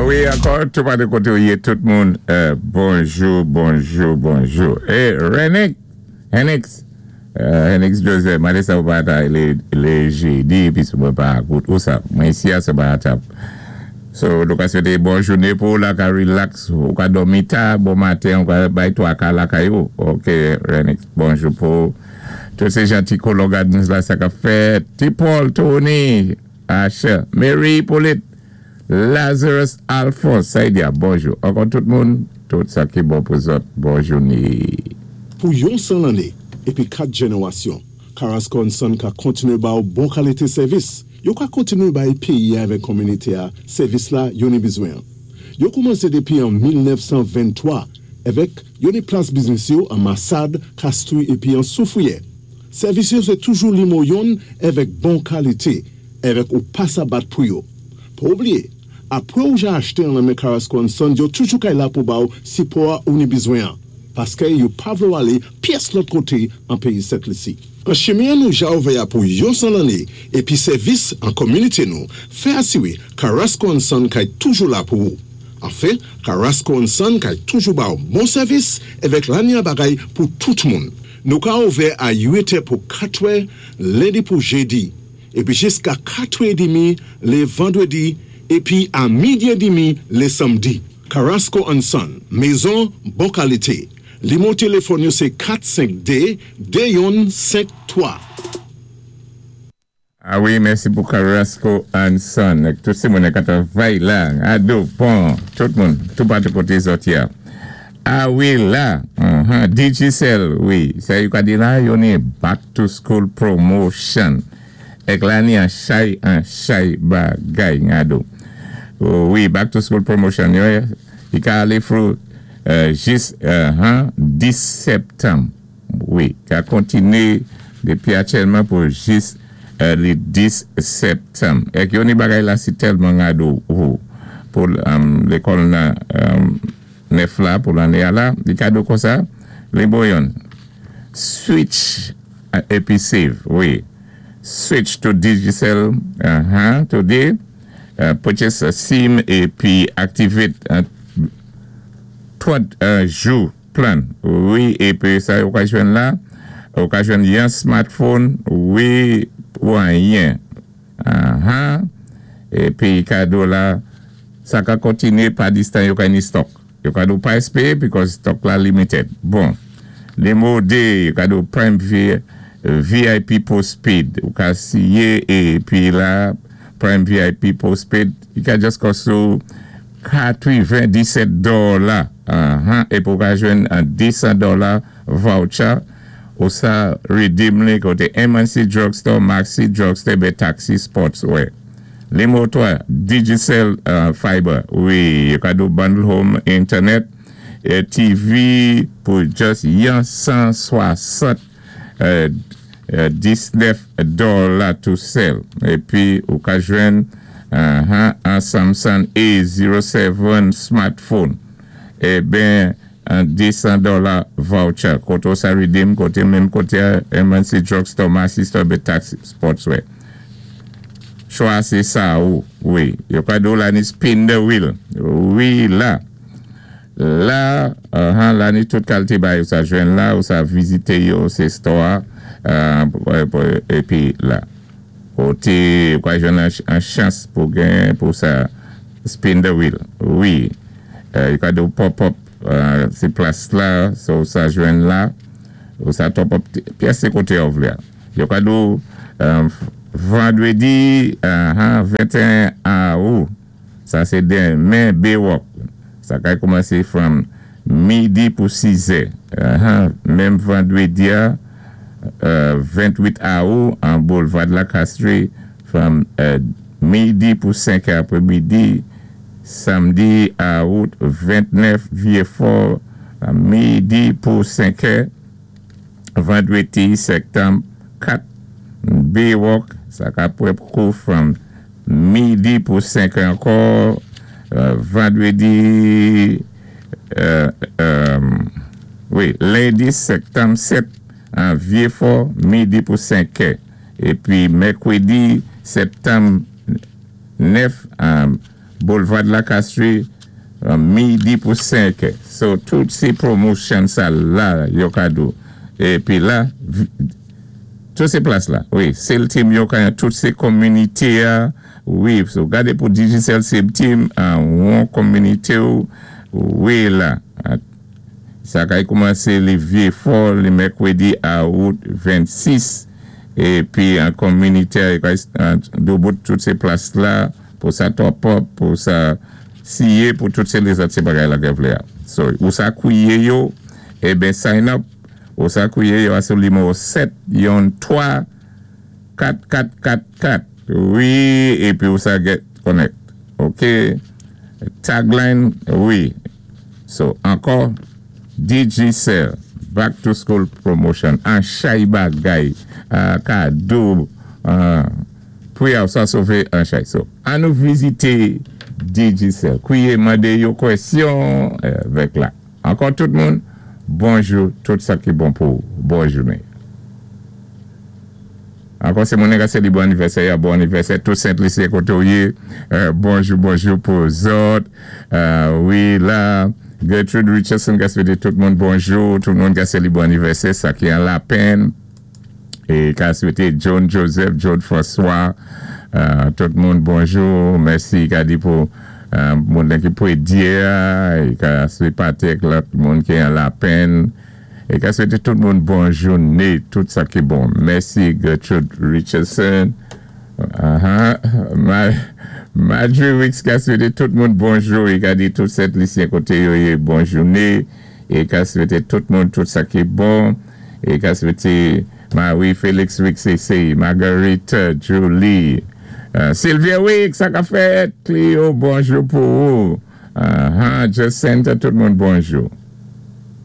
Wi, ankò, tou patou koté ou yé, tout moun, bonjou, bonjou, bonjou. É, Renix, Henix, Henix Joseph, mandé sa ou pa ta lé jedi, épi sou mwen pa akout ou sa. Mwen isi a, se pa atap. So, nou ka swété bon jouné pou ou la ka relax, ou ka dòmi ta, bon maten, ou ka bay twaka lakay ou. Ok, Renix, bonjou pou ou. Tout sé jan ti kolon Gardens la sa k ap fèt. Ti Paul, Tony, Asher, Mary Hippolyte, Lazarus Alphonse, Saïdia, bonjou. Ankò tout moun, tout sa ki bon pou zòt, bon jouné. Pou yon 100 lanné épi 4 jénéwasyon, Carrasco and Son ka kontinué ba ou bon kalité sèvis. Yo ka kontinué bay péyi-a avèk kominité-a sèvis la yo ni bizwen. Yo koumansé dépi an 1923 avèk yo ni plas biznis yo an Massade, Castries épi an Soufrière. Sèvis yo sé toujou limo yonn avèk bon kalité avèk ou pa sa bat pou yo. Pa oubliyé, apwé ou ja achté an nan men Carrasco and Son, yo toujou kay la pou ba ou sipò ou ni bizwen an, paské yo pa vlé ou alé pyès lòt koté an péyi Sent Lisi. An chimen nou ja ouvè a pou yon 100 lanné épi sèvis an kominité nou, fè asiwé Carrasco and Son kay toujou la pou ou. Anfen, Carrasco and Son kay toujou ba ou bon sèvis avèk lanya bagay pou tout moun. Nou ka ouvè a 8 pou 4 lendi pou jédi, épi jiska 4 édmi lé vandwédi, épi a midi édmi lé sanmdi. Carrasco and Son, mézon bon kalité. Limo téléfòn yo sé 452 2153. A wi, mèsi pou Carrasco and Son. Tout sé moun k ap travay la, ado, pon, tout moun, tou patou koté zòt ya. A wi la, Digicel, wi, sa yo ka di la, yo ni back to school promotion. Èk la ni an chay an chay bagay ngado. Wi, back to school promotion yo, i ka alé through jis 10 septanm. Wi, ka kontiné dépi aktyèlman pou jis li 10 septanm. Èk yo ni bagay la si tèlman ngado ou pou lékòl nan nèf la pou lanné a la, li kado konsa, li bon yonn. Switch épi save, wi. Switch to Digicel today, purchase a SIM épi activate 30 jou plan. Wi, épi sa ou ka jwenn la, ou ka jwenn yon smartphone, wi, pou anyen. Épi kado la, sa ka kontinué pa distan yo ka ni stock. Yo ka di ou pa espéyé because stock la limited. Bon, limo 2, yo ka di ou Prime VIP postpaid. Ou ka siyé épi la Prime VIP postpaid, i ka just cost ou 97 dola. Épi ou ka jwenn an 200 dola voucher ou sa redeem li koté MNC Drugstore, Maxi Drugstore, bé Taxi Sportswear. Limo 3, Digicel Fiber. Wi, yo ka di ou bundle home internet, TV pou just yon 160 19 dola tou sèl. Épi ou ka jwenn an Samsung A07 smartphone. É ben, an 200 dola voucher. Koté ou sa redeem, koté menm koté MNC Drugstore, Maxi Store, bé Taxi Sportswear. Chwa sé sa ou, wi. Yo ka di ou la ni spin the wheel. Wi la. La, la ni tout kalité bay ou sa jwenn la, ou sa vizité yo sé store, épi la. Koté, ou ka jwenn an chans pou gen pou sa spin the wheel. Wi. Yo ka di ou pop up sé plas la, so ou sa jwenn la, ou sa top up pyès sé koté ou vlé. Yo ka di ou vandwédi 21 awou. Sa sé denmen Baywalk. Sa kay koumansé from midi pou 6 è. Menm vandwédi a 28 awou an Boulevard la Castries from midi pou 5 è apwé midi. Samdi awout 29 Vieux-Fort midi pou 5 è. Vandwédi septanm 4 Baywalk sa ka pwép kou from midi pou 5 è ankò. Vandwédi, wi, lendi septanm 7 an Vieux-Fort midi pou 5 è. Épi mèkwédi septanm 9 an. Boulevard La Castrie, midi pou 5. So, tout sé promotion sa la, yo ka do. Épi la, tout sé plas la. Wi, sales team yo ka tout sé kominité a. Wi, so gadé pou Digicel sales team an yon kominité wi la. Sa kay koumansé li vyé fò li mèkwédi a out 26 épi an kominité do bout tout sé plas la pou sa top up, pou sa siye pou tout sé lézòt sé bagay la gen vlé a. So, ou sa kwiye yo, eben sign up, ou sa kwiye yo a sou nimewo 7 yon 3 4 4 4 4. Wi, épi ou sa get connect. OK? Tagline, wi. So, ankò, Digicel, Back to School Promotion, an chay bagay, kado, pou yaw sa sové an chay. So, an nou vizité Digicel. Kwiye mandé yo kwèsyon vèk la. Ankò tout moun, bonjou, tout sa ki bon pou bon jounen. Ankò sé moun ka sé bon anivèsè, bon anivèsè, tout Sent Lisi koté ou yé, bonjou, bonjou pou zòt. Wi, la, Gertrude Richardson ka swété tout moun bonjou, tout moun ka sé bon anivèsè, sa ki an Lapèn. É ka swété John Joseph, John François, tout moun bonjou, mèsi ka di pou moun ki pou é ka swété Patrick, lòt moun ki an Lapèn. É ka swété tout moun bon jounen, tout sa ki bon. Mèsi Gertrude Richardson. Marjorie Wicks ka swété tout moun bonjou. É ka di tout Sent Lisyen koté yo yé bon jounen. É ka swété tout moun tout sa ki bon. É ka swété Marie Félix Wicks c'est Marguerite Julie. Sylvia Wicks, sa ka fèt. Cleo, bonjou pou ou. Jacinta, tout moun bonjou.